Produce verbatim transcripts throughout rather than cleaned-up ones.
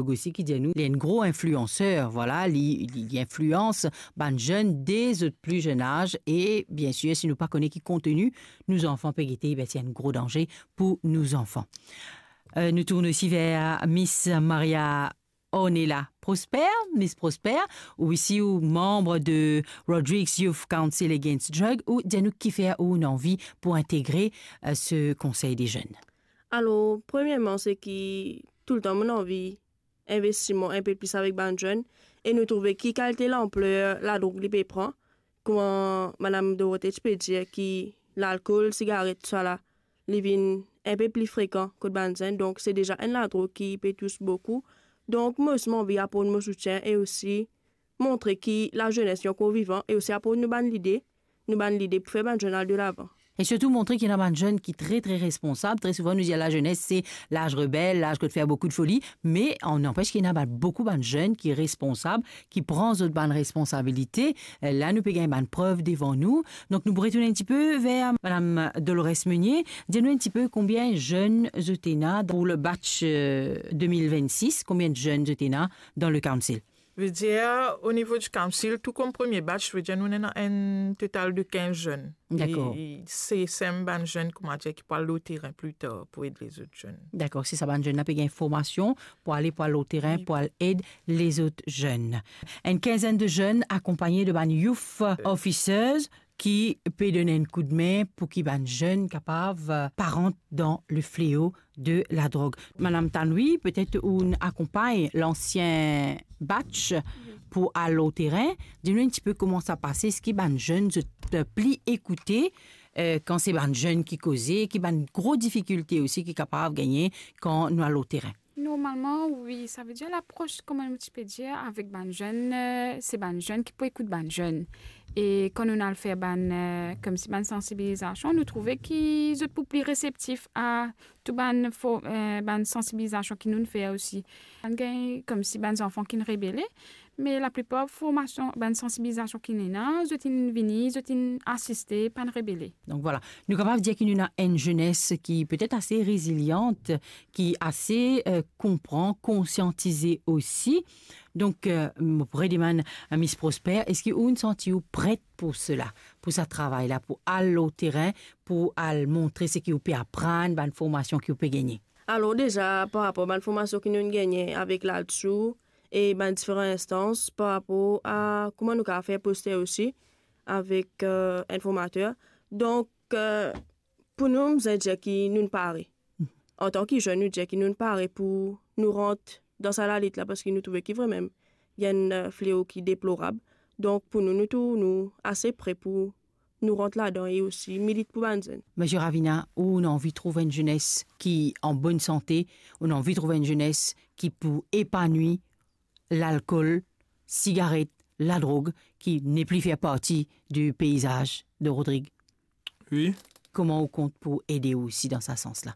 Osi ki dir nou, li enn gro inflianser, vwala, li, li, li inflians bann zenn de zot pli zenn az, e bien sir, si nou pa kone ki konteni nou zanfan pe gete, ben, se enn gro danze pou nou zanfan. Euh, nou tourn osi ver Miss Maria Ornella Prosper. Miss Prosper, ou isi ou manb de Rodrigues Youth Council Against Drug, ou dir nou kifer ou ena anvi pou integre, euh, se konsey de zenn. Alor, premierman, se ki toultan mo ena anvi investi mwa inpe plis avek bann zenn, e nou trouve ki kalite lanpler ladrog li pe pran. Kouma Madam Dorothée ti pe dir ki lalkol, sigaret, tousala, li vinn inpe pli frekan kot bann zenn, donk se deza enn ladrog ki pe tous boukou. Donk mo osi mo anvi aport mo soutien e osi montre ki lazenes li ankor vivan e osi aport nou bann lide, nou bann lide pou fer bann zenn al delavan. E sirtou montre ki ena bann zenn ki tre, tre responsab. Tre souvan nou dir lazenes se laz rebel, laz kot fer boukou de foli, me an nanpes ki ena bann, boukou bann zenn ki responsab, ki pran zot bann responsabilite. Eh, la nou pe gagn bann prev devan nou. Donk nou pou retourn enn tipe ver Madam Dolores Meunier. Dir nou enn tipe konbien zenn zot ena pou le batch, euh, de mil vennsis, konbien zenn zot ena dan le council? Vedir, o nivo di council, tou kom premie batch, vedir nou ena enn total de kinz zenn. Dakor. E, e se sem bann zenn, koumadir, ki pou al lor terin pli tar pou ed lezot zenn. Dakor, se sa, bann zenn la pe gagn formasion pou ale, pou al lor terin, wi, pou al ed lezot zenn. Enn kinzenn de zenn akonpagne de bann youth officers ki pe donn enn koudme pou ki bann zenn kapav, euh, pa rant dan le fleo de ladrog. Madam Tanwi, petet ou'nn akonpagn lansien batch pou al lor terin. Dir nou enn tipe kouma sa pase, eski bann zenn zot pli ekoute, eh, kan se bann zenn ki koze, ki bann gro difikilte osi ki kapav gagne kan nou al lor terin? Normalman, wi, savedir lapros, kouma nou ti pe dir, avek bann zenn, eh, se bann zenn ki pou ekout bann zenn. E kan nou al fer bann, eh, koumsi bann sansibilizasion, nou trouve ki zot pou pli reseptif a tou bann fo-, eh, bann sansibilizasion ki nou fer osi. Bann gagn koumsi bann zanfan ki rebele, me laplipar formasion, bann sansibilizasion ki ena, zot inn vini, zot inn asiste, pa rebele. Donk vwala, nou kapav dir ki nou ena enn zenes ki petet ase rezilian, ki ase, eh, konpran, konsiantize osi. Donk, eh, mo pou redemann a Miss Prosper, eski ou'nn santi ou pret pou sela, pou sa travay la, pou al lor terin, pou al montre seki ou pe aprann, bann formasion ki ou pe gagne? Alor deza, par rapor bann formasion ki nou gagne avek LADSU e bann diferan instans, par rapor a kouma nou kapav fer poster osi avek, eh, informater. Donk, eh, pou nou, nou dir ki nou pare. Antan ki zenn, nou dir ki nou pare pou nou rant dan sa lalit la, parski nou trouve ki vremem, li enn, eh, fleo ki deplorab. Donk, pou nou, nou tou, nou ase pre pou nou rant ladan e osi milit pou bann zenn. Misie Ravina, ou'nn anvi trouv enn zenes ki an bonn sante, ou'nn anvi trouv enn zenes ki pou epanwi, lalkol, sigaret, ladrog, ki nepli fer parti di peizaz de Rodrig. Wi. Kouma ou kont pou ede ou osi dan sa sans la?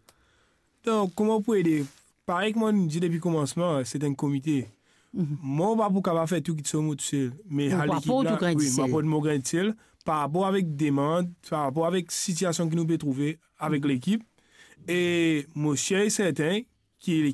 Donk, kouma pou ede? Parey kouma nou dir depi koumansman, se enn komite. Mhm. Mwa, mo pa pou kapav fer tou kiksoz mwa tousel, me... Ou pa lekip pou la, tou grin wi, disel. Mo aport mo grin disel par rapor avek demann, par rapor avek sitiasion ki nou pe trouve avek lekip. E mo sir e serten ki